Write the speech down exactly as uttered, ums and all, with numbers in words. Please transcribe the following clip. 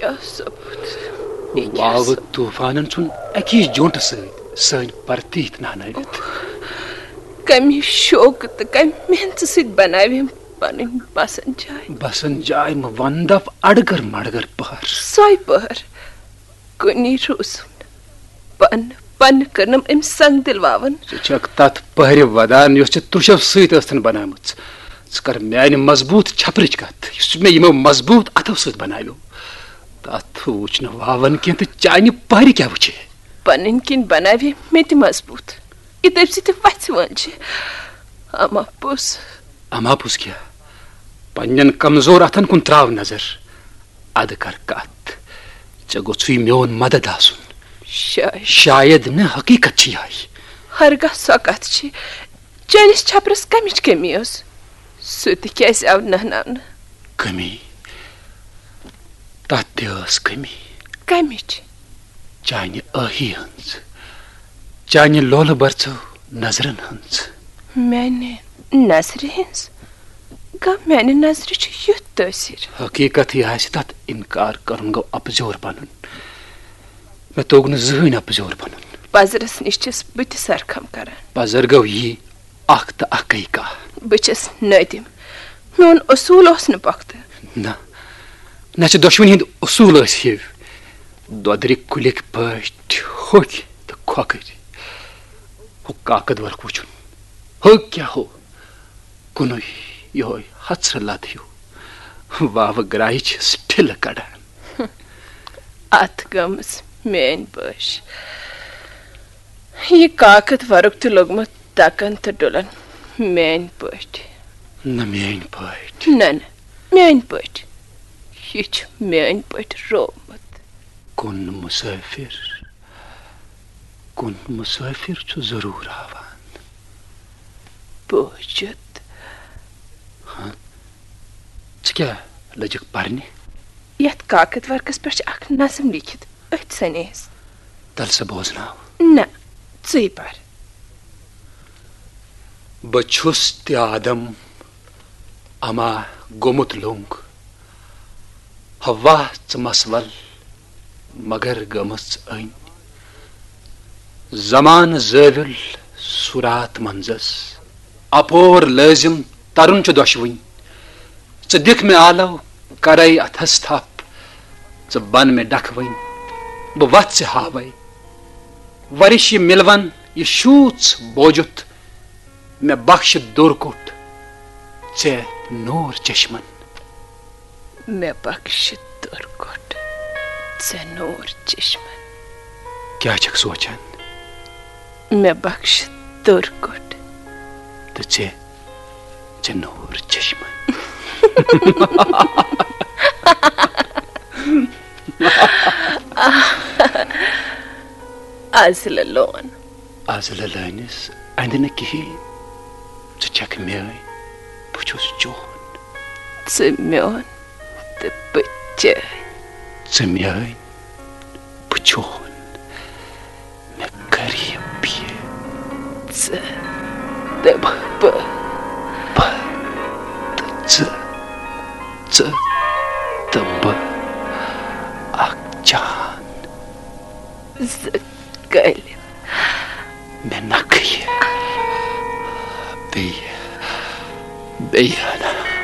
کیٛاہ ثبوٗت؟ یہِ کیٛاہ واوٕ ثبوٗت؟ طوٗفانن ژھُن اَکی جونٛٹہٕ سۭتۍ سٲنۍ پرتیٖت نہنٲوِتھ۔ کمہِ شوقہٕ تہٕ کمہِ محنتہٕ سۭتۍ بناوِ أمۍ پنٕنۍ بسن جاے؟ بسن جاے مہٕ ون، دپ اڑگر مڑگر پہر۔ سۄے پہر۔ کُنی روٗزُم نہٕ۔ پنہٕ، پنہٕ کٔرنم أمۍ سنگ دِل واوَن۔ ژٕ چھکھ تتھ پہرِ ودان، یۄس ژےٚ تُشو سۭتۍ ٲستن بنٲومٕژ۔ ژٕ کر میانہِ مضبوٗط چھپرٕچ کتھ، یُس مےٚ یِمو مضبوٗط اتھو سۭتۍ بناویو۔ تتھ وُچھ نہٕ واوَن کینٛہہ تہٕ چانہِ پہرِ کیٛاہ وُچھِ؟ پنٕنۍ کِنۍ بناوِ مےٚ تہِ مضبوٗط۔ یہِ تٔمۍ سۭتۍ وژھِ وٲنجہِ۔ اما پوٚز۔ اما پوٚز کیٛاہ؟ پننٮ۪ن کمزور اتھن کُن تراو نظر۔ ادٕ کر کتھ۔ ژےٚ گوٚژھُے میون مدد آسُن۔ شاید۔ شاید نہٕ، حقیقت چھِ یِہے۔ ہرگاہ سۄ کتھ چھِ، چٲنِس چھپرس کمِچ کمی ٲس؟ سُہ تہِ کیازِ آو نہناونہٕ؟ کمی؟ تتھ تہِ ٲس کمی۔ کمِچ؟ چانہِ ٲہی ہٕنٛز، چانہِ لولہٕ برژھو نظرن ہٕنٛز۔ میانہِ نظرِ ہٕنٛز؟ گا، میانہِ نظرِ چھُ یُتھ تٲثیر۔ حقیقت یہِ آسہِ، تتھ انکار کرُن گوٚو اپزیور بنُن۔ مےٚ توٚگ نہٕ زٕہٕنۍ اپزیور بنُن۔ پزرس نِش چھَس بہٕ تہِ سرخم کران۔ پزر گوٚو یی اکھ تہٕ اکٕے کتھ۔ بہٕ چھَس نٲدِم۔ میون اصوٗل اوس نہٕ پۄختہٕ۔ نہ، نہ چھِ دۄشوٕنی ہٕنٛدۍ اصوٗل ٲسۍ ہِوۍ۔ دۄدرِ کُلِکۍ پٲٹھۍ ہوٚکھۍ تہٕ کھۄکھٕرۍ۔ ہُہ کاکد ورق وٕچھُن۔ ہُہ کیٛاہ ہُہ؟ کُنُے یِہوٚے ہژرٕ لد ہیوٗ۔ واوٕ گرٛایہِ چھِس ٹھِلہٕ کڑان۔ اتھ گٔمٕژ میٲنۍ بٲش۔ یہِ کاکد ورُک تہِ لوٚگمُت تکن تہٕ ڈُلن میٲنۍ پٲٹھۍ۔ نہ میٲنۍ پٲٹھۍ۔ نہ، نہ، میٲنۍ پٲٹھۍ۔ یہِ چھُ میٲنۍ پٲٹھۍ روومُت۔ کُن مسافر، کُن مسافر چھُ ضروٗر آوان۔ بوٗزِتھ۔ ہاں؟ ژٕ کیٛاہ لٔجِکھ پرنہِ؟ یتھ کاکد ورقس پٮ۪ٹھ چھِ اکھ نظم لیکھِتھ، أتھۍ سنیس۔ تل سا بوزناو۔ نہ، ژٕے پر۔ بہٕ چھُس تہِ آدم، اما گوٚمُت لوٚنٛگ۔ ہوا ژٕ مسول، مگر گٔمٕژ أنۍ۔ زمانہٕ زٲوِل صورات منٛزس، اپور لٲزِم ترُن چھُ دۄشوٕنۍ۔ ژٕ دِکھ مےٚ آلو، کرے اتھس تھپھ۔ ژٕ بن مےٚ ڈکھوٕنۍ، بہٕ وتھ ژےٚ ہاوے۔ ورِش یہِ مِلوَن، یہِ شوٗژ بوجُتھ، مےٚ بخش دوٚر کوٚٹ ژےٚ نوٗر چشمن۔ مےٚ بخش دوٚر کوٚٹ ژےٚ نوٗر چشمن۔ کیٛاہ چھکھ سونچان؟ مےٚ بخش دوٚر کوٚٹ۔ تہٕ ژےٚ، ژےٚ نوٗر چشمن۔ از لون۔ از لٲنِس اندِ نہٕ کِہیٖنۍ۔ ژٕ چھکھ میٲنۍ، بہٕ چھُس چون۔ ژٕ میون تہٕ بہٕ چٲنۍ۔ ژٕ میٲنۍ، بہٕ چون۔ مےٚ قریب یہِ۔ ژٕ تہٕ بہٕ۔ بہٕ۔ تہٕ ژٕ۔ ژٕ تہٕ بہٕ۔ اکھ جان۔ زٕ کٔلۍ۔ مےٚ نکھٕ یہِ۔ بیٚیہِ، بیٚیہِ ہنا۔